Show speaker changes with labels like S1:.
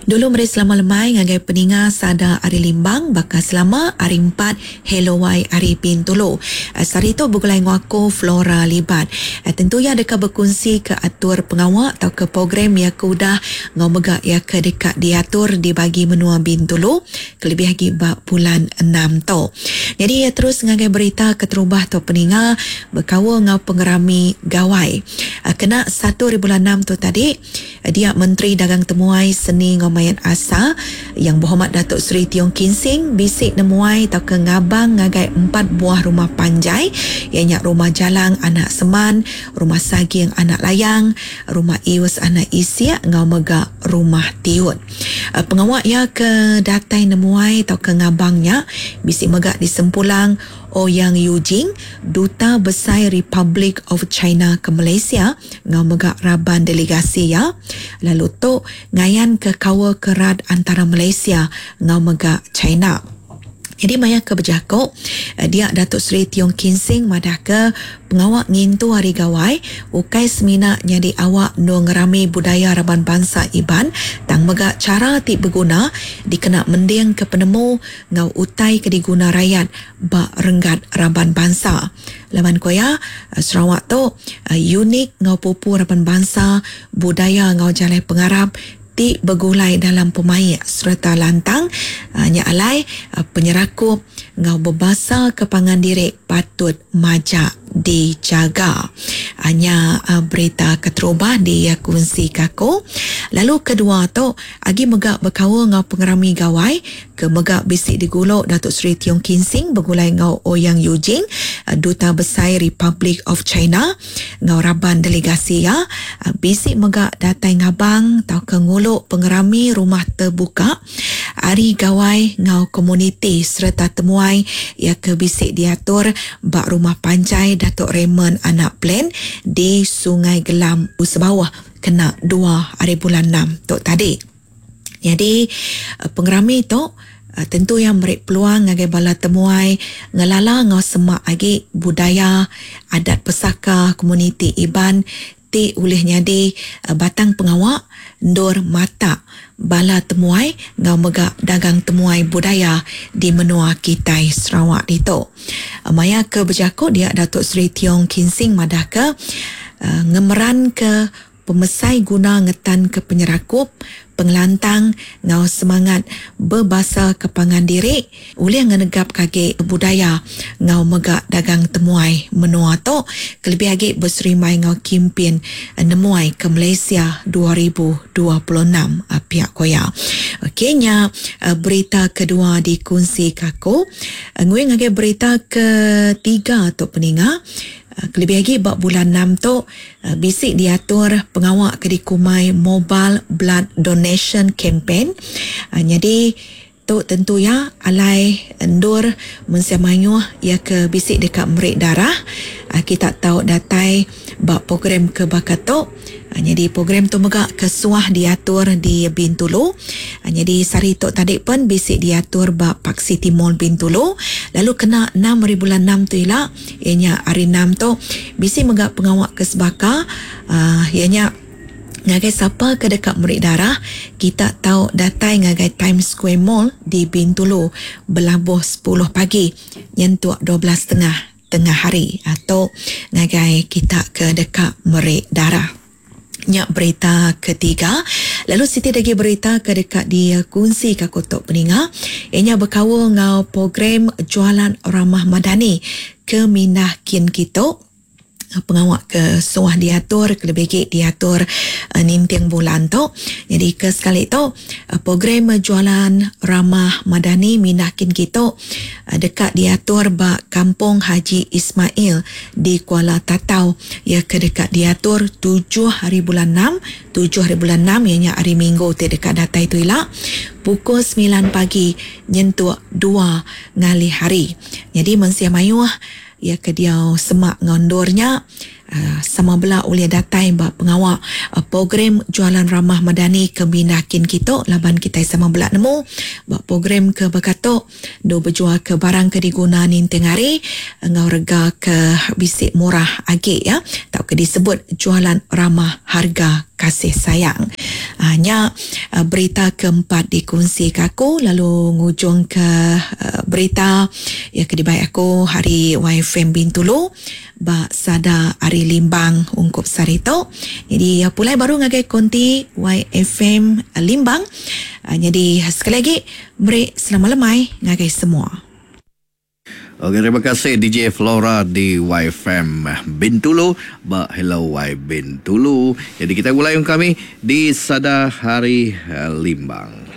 S1: Dulu meri selama lemai ngagai peninga sada ari Limbang baka selama ari empat Hello Wai ari Bintulu. Sehari tu begulai enggau aku Flora Libat. Tentu iya deka bekunsi ke atur pengawa tauka program iya ke udah enggau mega iya ke deka diatur di bagi menua Bintulu kelebih agi ba bulan enam tu. Nyadi iya terus ngagai berita keterubah tu peninga bekaul enggau pengerami Gawai. Kena satu ari bulan enam tu tadi, Dia Menteri Dagang Temuai, Seni enggau Main Asal, Yang Berhormat Datuk Seri Tiong Kin Sing bisi nemuai tauka ngabang ngagai empat buah rumah panjai iya nya Rumah Jalang Anak Seman, Rumah Saging Anak Layang, Rumah Ius Anak Isik enggau mega Rumah Tiut. Pengawa iya ke datai nemuai tauka ngabang nya bisi mega disempulang Ouyang Yujing, Duta Besai Republic of China ke Malaysia enggau mega raban delegasi iya, lalu tu ngayanka kaul ke rat antara Malaysia enggau mega China. Nyadi maya ke bejaku, dia Datuk Seri Tiong Kin Sing madahka pengawa ngintu Hari Gawai ukai semina nyadi awak endur ngerami budaya raban bansa Iban tang mega chara ti beguna dikena mendingka penemu enggau utai ke diguna rayat ba renggat raban bansa. Laban ku iya, Sarawak tu unik enggau pupu raban bansa, budaya enggau jalai pengarap ti begulai dalam pemaik sereta lantang, nya alai penyerakup enggau bebasa ke pangan diri patut majak dijaga. Nya berita keterubah dikunsika aku. Lalu kedua tu agi mega bekaul enggau pengerami Gawai ke mega bisi digulu Datuk Seri Tiong Kin Sing begulai enggau Ouyang Yujing, Duta Besai Republic of China enggau raban delegasi iya bisi mega datai ngabang tauka ngulu pengerami rumah tebuka Hari Gawai enggau komuniti sereta temuai iya ke bisi diatur ba Rumah Panjai Datuk Raymond Anak Plan di Sungai Gelam, Sebauh kena dua hari bulan enam tu tadi. Nyadi pengerami tu tentu iya meri peluang ngagai bala temuai ngelala enggau semak agi budaya, adat pesaka komuniti Iban ti ulih nyadi batang pengawa endur matak bala temuai enggau mega dagang temuai budaya di menua kitai Sarawak ditu. Maya ke bejaku dia Datuk Seri Tiong Kin Sing madahka ngemeranka Pemesai guna ngetanka penyerakup, pengelantang enggau semangat bebasa ke pangan diri ulih ngenegapka agi budaya enggau mega dagang temuai menua tu kelebih agi beserimbai enggau kimpin nemuai ke Malaysia 2026, pia ku iya. Okey nya berita kedua dikunsika aku. Nguing ngagai berita ketiga tu peninga kelebih agi ba bulan enam tu. Bisi diatur pengawa ke dikumbai Mobile Blood Donation Campaign. Nyadi tu tentu iya alai endur mensia mayuh iya ke bisi deka meri darah. Kita tau datai ba program ke baka tu. Nyadi program tu mega ke suah diatur di Bintulu. Nyadi sehari tu tadi pen bisi diatur ba Park City Mall Bintulu lalu kena enam hari bulan enam tu ila iya nya hari enam tu bisi mega pengawa ke sebaka uhh iya nya ngagai sapa ke deka meri darah kita tau datai ngagai Times Square Mall di Bintulu belabuh sepuluh pagi nyentuk 12 setengah. Tengah hari tu ngagai kita ke deka meri darah. Nya berita ketiga. Lalu siti da agi berita ke deka dikunsika ku tu peninga iya nya bekaul enggau program Jualan Ramah Madani ke mindah kin kitu. Pengawa ke suah diatur kelebih agi diatur ninting bulan tu. Nyadi ke sekali tu program Jualan Ramah Madani Mindah Kin Kitu deka diatur ba Kampung Haji Ismail di Kuala Tatau iya ke deka diatur tujuh hari bulan enam, tujuh hari bulan enam iya nya hari Minggu ti deka datai tu ila pukul semilan pagi nyentuk dua ngalih hari. Nyadi mensia mayuh Iya ke diau semak enggau endur nya sama bela ulih datai ba pengawa program Jualan Ramah Madani ke mindah kin kitu laban kitai sama bela nemu ba program ke baka tu endur bejualka barang ke diguna ninting hari enggau rega ke bisi murah agi ya tauka disebut Jualan Ramah Harga Kasih Sayang. Nya berita keempat dikunsi ke aku lalu ngujung ke berita iya ke dibai aku hari YFM Bintulu ba sada ari Limbang ungkup sehari tu. Jadi pulai baru ngagai konti YFM Limbang. Jadi sekali lagi meri selamat lemai ngagai semua.
S2: Okey, terima kasih DJ Flora di YFM Bintulu ba Hello Y Bintulu. Jadi kita mulai kami di Sada Hari Limbang.